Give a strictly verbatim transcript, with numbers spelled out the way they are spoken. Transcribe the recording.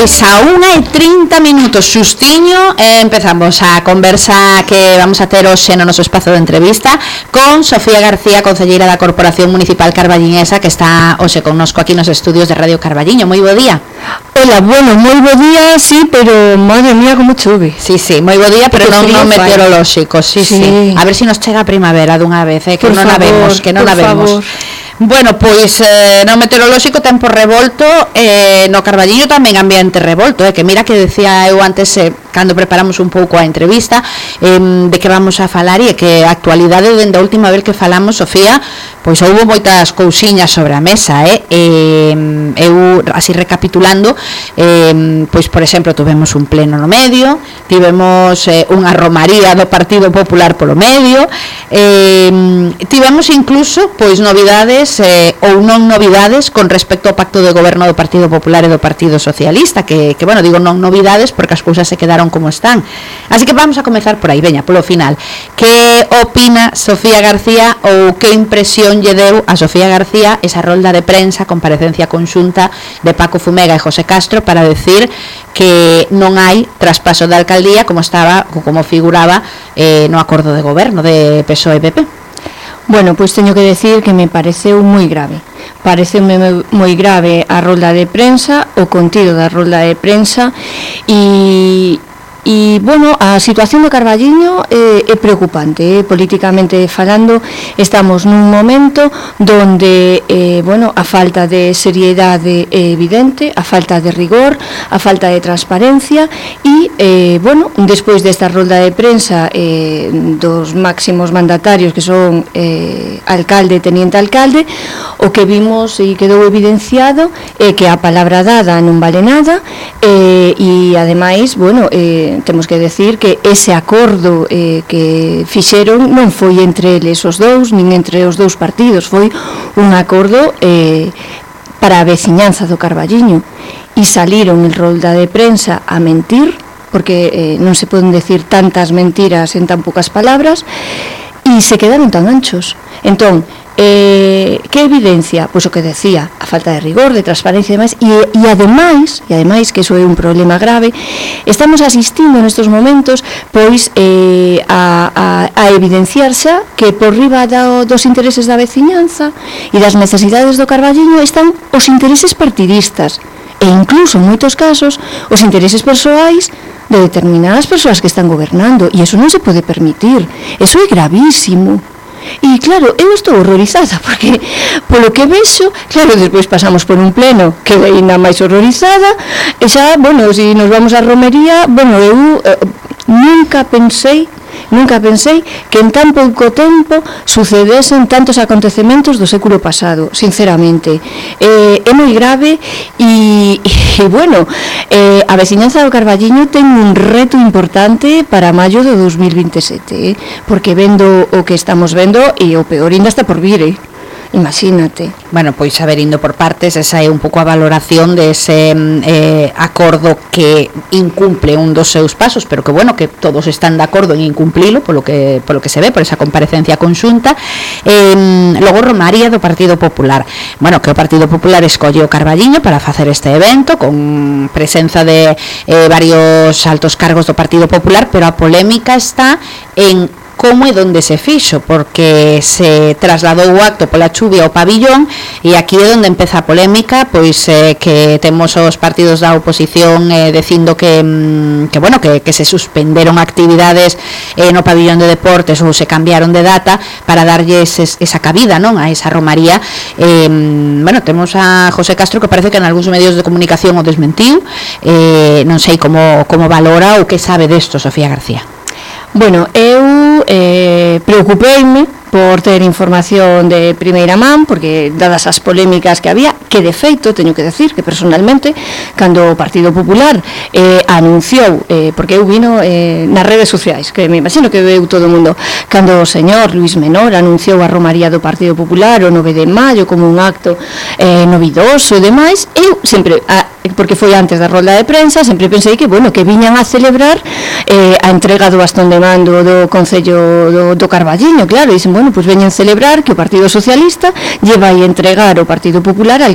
Pois a unha e trinta minutos xustiño eh, empezamos a conversa que vamos a ter hoxe no noso espazo de entrevista con Sofía García, concelleira da Corporación Municipal Carballiñesa, que está hoxe connosco aquí nos estudios de Radio Carballiño. Moi bo día. Hola, bueno, moi bo día, sí, pero madre mía como chove. Sí, sí, moi bo día, pero non, non meteorolóxico. Sí, sí, sí. A ver se si nos chega a primavera dunha vez, eh, que non a vemos, que non a vemos. Bueno, pois eh, no meteorolóxico tempo revolto, eh, no Carballiño tamén ambiente revolto, eh, que mira que decía eu antes eh, cando preparamos un pouco a entrevista eh, de que vamos a falar e que a actualidade dende a última vez que falamos, Sofía, pois houve moitas cousiñas sobre a mesa, eh, eh eu así recapitulando, eh, pois por exemplo tivemos un pleno no medio, tivemos eh, unha romaría do Partido Popular polo medio, eh, tivemos incluso pois novidades Eh, ou non novidades con respecto ao pacto de goberno do Partido Popular e do Partido Socialista, que, que bueno, digo non novidades porque as cousas se quedaron como están. Así que vamos a comezar por aí, veña, polo final. Que opina Sofía García ou que impresión lle deu a Sofía García esa rolda de prensa, comparecencia conxunta de Paco Fumega e José Castro para decir que non hai traspaso da alcaldía como estaba, como figuraba eh, no acordo de goberno de P S O E e P P? Bueno, pois teño que decir que me pareceu moi grave. Pareceume moi grave a rolda de prensa, o contido da rolda de prensa e... E, bueno, a situación do Carballiño é, é preocupante, eh? Políticamente falando, estamos nun momento donde, eh, bueno, a falta de seriedade é evidente, a falta de rigor, a falta de transparencia e, eh, bueno, despois desta rolda de prensa eh, dos máximos mandatarios que son eh, alcalde e teniente alcalde, o que vimos e quedou evidenciado é que a palabra dada non vale nada eh, e, ademais, bueno, eh, temos que decir que ese acordo eh, que fixeron non foi entre eles os dous, nin entre os dous partidos, foi un acordo eh, para a veciñanza do Carballiño e saliron en rolda de prensa a mentir, porque eh, non se poden decir tantas mentiras en tan poucas palabras e se quedaron tan anchos. Entón, Eh, que evidencia? Pois o que decía, a falta de rigor, de transparencia e demais, e, e ademais, e ademais que iso é un problema grave, estamos asistindo nestes momentos pois eh, a, a, a evidenciarse que por riba do, dos intereses da veciñanza e das necesidades do Carballiño están os intereses partidistas e incluso en moitos casos os intereses persoais de determinadas persoas que están gobernando, e iso non se pode permitir, iso é gravísimo. E claro, eu estou horrorizada porque polo que vexo, claro, despois pasamos por un pleno que é ainda máis horrorizada e xa, bueno, se nos vamos á romería, bueno, eu eh, nunca pensei Nunca pensei que en tan pouco tempo sucedesen tantos acontecementos do século pasado, sinceramente. Eh, é moi grave e, e bueno, eh, a veciñanza do Carballiño ten un reto importante para maio do dos mil vinte e sete, eh, porque vendo o que estamos vendo e o peor ainda está por vir, eh. Imagínate. Bueno, pois a ver, indo por partes, esa é un pouco a valoración dese eh, acordo que incumple un dos seus pasos, pero que bueno, que todos están de acordo en incumplilo, polo que polo que se ve, por esa comparecencia conxunta. Eh, logo romaría do Partido Popular. Bueno, que o Partido Popular escolle o Carballiño para facer este evento con presenza de eh, varios altos cargos do Partido Popular, pero a polémica está en como e donde se fixo, porque se trasladou o acto pola chuvia ao pabillón e aquí é onde empeza a polémica, pois eh, que temos os partidos da oposición eh, dicindo que, que bueno, que, que se suspenderon actividades eh, no pabillón de deportes ou se cambiaron de data para darlle ese, esa cabida, non, a esa romaría. Eh, bueno, temos a José Castro que parece que en algúns medios de comunicación o desmentiu, eh, non sei como, como valora ou que sabe desto, Sofía García. Bueno, eu eh, preocupeime por ter información de primeira man, porque dadas as polémicas que había, que de feito, teño que decir que personalmente, cando o Partido Popular eh, anunciou, eh, porque eu vino eh, nas redes sociais, que me imagino que veu todo o mundo, cando o señor Luis Menor anunciou a romaría do Partido Popular o nove de maio como un acto eh, novidoso e demais, eu sempre, a, porque foi antes da rolda de prensa, sempre pensei que, bueno, que viñan a celebrar eh, a entrega do bastón de mando do Concello do, do Carballiño, claro, e dicen, bueno, pois veñen celebrar que o Partido Socialista lleva a entregar o Partido Popular al,